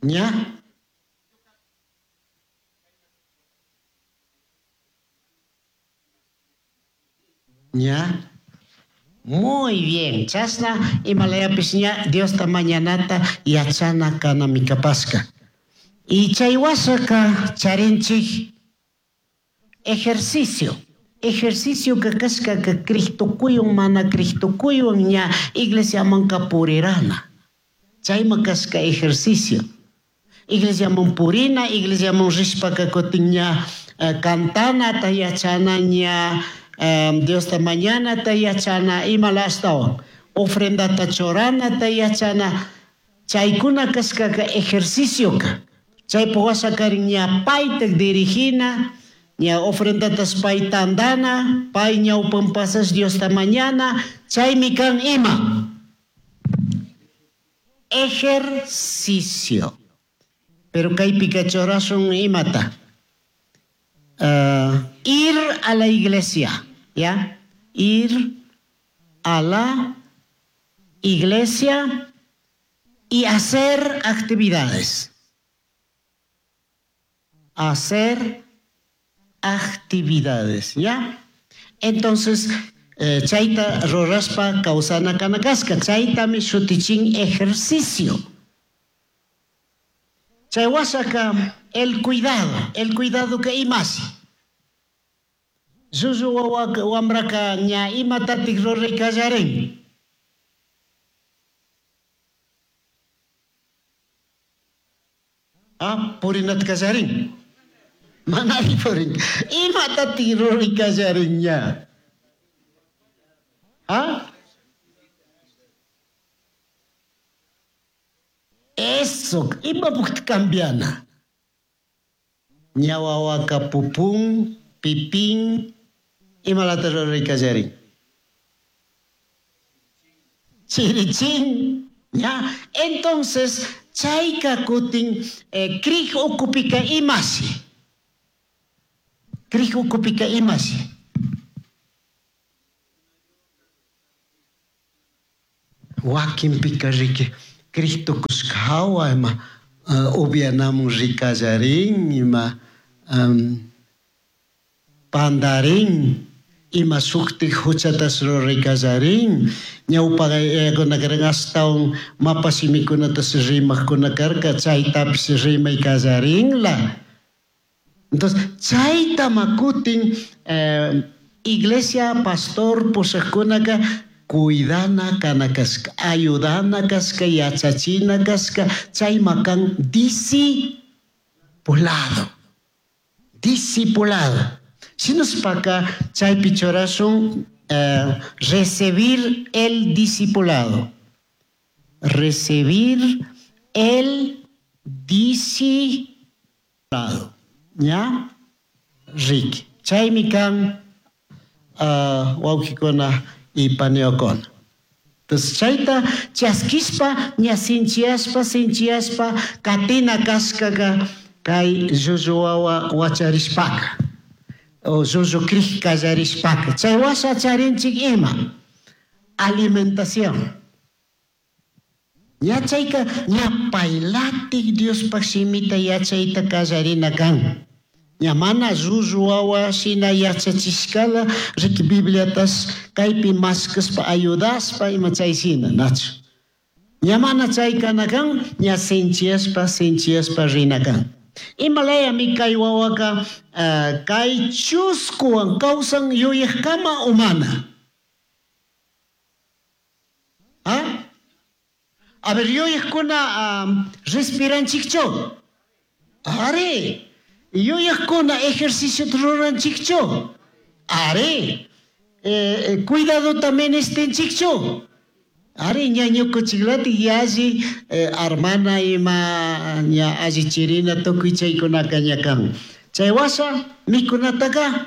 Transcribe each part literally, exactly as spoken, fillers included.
Ña? Ña? Muy bien. Chasna imalayapish ña Diosta mañanata yachana kanami kapashka. Y chay washaka charinchik ejercicio. Ejercicio que kashkaka Cristokuywan mana Cristokuywan ña iglesiamanka purirana. Chayma kashka ejercicio. Iglesiaman purina, iglesiaman rishpaka kutin ña eh, cantanata yachana ña eh, Diosta mañanata yachana imala ashtawan. Ofrendata churanata yachana. Chaykuna kashkaka ejercicioka. Chaypi wasakarin ña payta dirigina, ña ofrendatas pay tandana, pay ñawpan pasas Diosta mañana, chaymi kan ima. Ejercicio. Pero kaypika churasun imata. Uh, ir a la iglesia, ¿ya? Ir a la iglesia y hacer actividades. Hacer actividades, ¿ya? Entonces, eh, chayta rurashpa kawsana kana kashka, chaytami shutichin ejercicio. Chay washaka el cuidado, el cuidado que imashi. Llullu wawa wambraka ña imatatik ruray kallarin. Ah, purinata kallarin. Manari purin. Imatatik ruray kallarin ña. Ah? Eso, imapukta cambiana. Ña wawaka pupun, pipín, imalata ruray kallarin. Chirichin, ña. Entonces, chayka kutin, eh, krij ukupika imashi. Krij ukupika imashi. Wakinpika riki, Cristo kushkawa ima, uh, upianamun rikallarin, ima, um, pandarin, ima shuktik huchatas ruraykallarin, ñawpa yayakuna karan ashtawan mapa shimikunatas rimaqkuna karka, chaytapish rimaykallarinla. Entonces, chayta makutin, eh, iglesia, pastor, pushaqkunaka cuidana kana kashka, ayudana kashka, yachachina kashka, chayma kan discipulado. Discipulado. Shinashpaka chaypi churasun, eh, recibir el discipulado. Recibir el discipulado. ¿Ya? Ricky. Chaymi kan, uh, wawqikuna y paniokuna. Entonces, chayta chaskishpa, ña sinchiaspa, sinchiaspa, katina kashkaka, kay llullu wawa wacharishpaka. O llullu krij kallarishpaka. Chay washa charinchik ima. Alimentación. Ña chayka, ña paylatik Diospaj shimita yachayta kallarina kan. Ña mana llullu wawa shina yachachishkala, riki Bibliatas kaypi mashkashpa ayudashpa ima chay shina, nachu. Ña mana chaykana kan, ña sinchiaspa, sinchiaspa rina kan. Imalayami kay wawaka, uh, kay chuskuwan kawsan yuyajkama o mana. ¿Ah? A ver, yuyajkuna, um, respiranchikchu. Are. Yuyajkuna ejercicio ruranchikchu. Are. Eh, eh, cuidado también estenchikchu. Are, ña ñukuchiklati yalli, eh, armana ima ña alli chirina tukuy chaykunaka ña kan. Chay washa mikunataka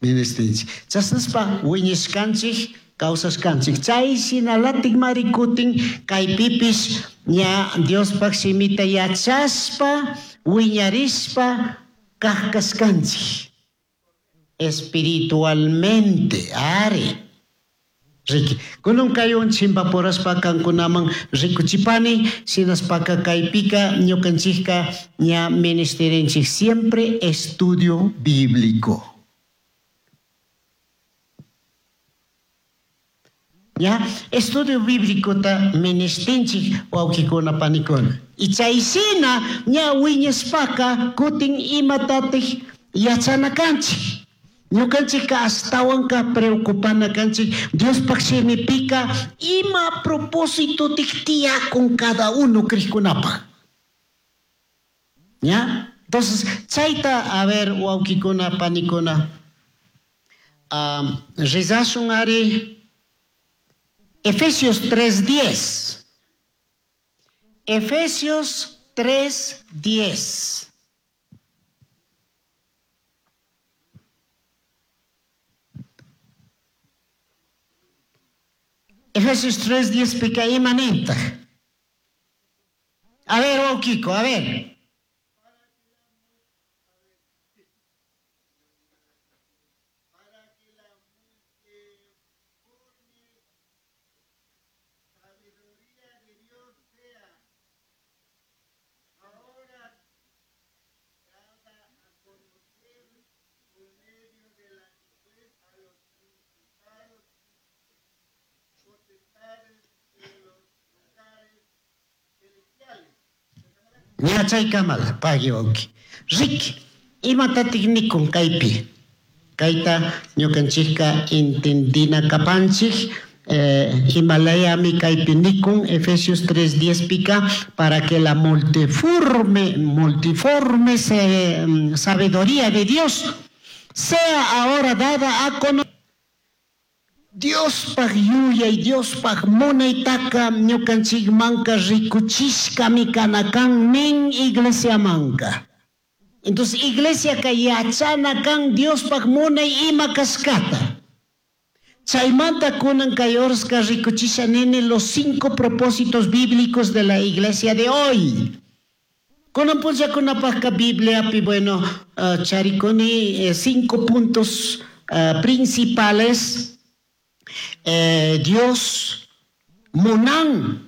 ministinchik. Chasnaspa wiñashkanchik, kawsashkanchik. Chay shinalatik mari kutin kaypipish ña Diospaj shimita yachashpa, wiñarishpa kajkashkanchik. Espiritualmente, are. Riqui, kunan kaywan chimpapurashpa kankunaman rikuchipani, shinashpaka kaypika ñukanchikka ña ministirinchik siempre estudio bíblico. ¿Ya? Estudio bíblicota ministinchik wawkikuna panikuna. Y chayshina ña wiñashpaka kutin imatatik yachana kanchik. Ñukanchikka ashtawanka preocupana kanchik Diospaj shimipika ima propósitotik tiyakun cada uno krikkunapaj. ¿Ya? Entonces, chayta, a ver, wawkikuna, panikuna, um, rezashun ari Efesios tres diez. Efesios tres diez. Efesios tres diez pika ima nintaj. A ver, oh, Kiko, a ver. Para que la multiforme sabiduría de Dios sea ahora dada a conocer por medio de la iglesia a los principados y potestades de los lugares celestiales. Ña chaykamala, pagui wawki. Riqui, imatatik nikun kaypi? Kayta ñukanchikka entendina kapanchik, eh, Himalayami kaypi nikun Efesios tres diez pika para que la multiforme, multiforme se, mm, sabiduría de Dios sea ahora dada a conocer. Diospaj yuyay, Diospaj munaytaka ñukanchikmanka rikuchishkami kana kan nin iglesiamanka. Entonces iglesiaka yachana kan Diospaj munay ima kashkata. Chaymanta kunan kay horska rikuchisha nini los cinco propósitos bíblicos de la iglesia de hoy. Kunan punllakunapajka Bibliapi, bueno, uh, charikuni eh, cinco puntos uh, principales. Eh, Dios munan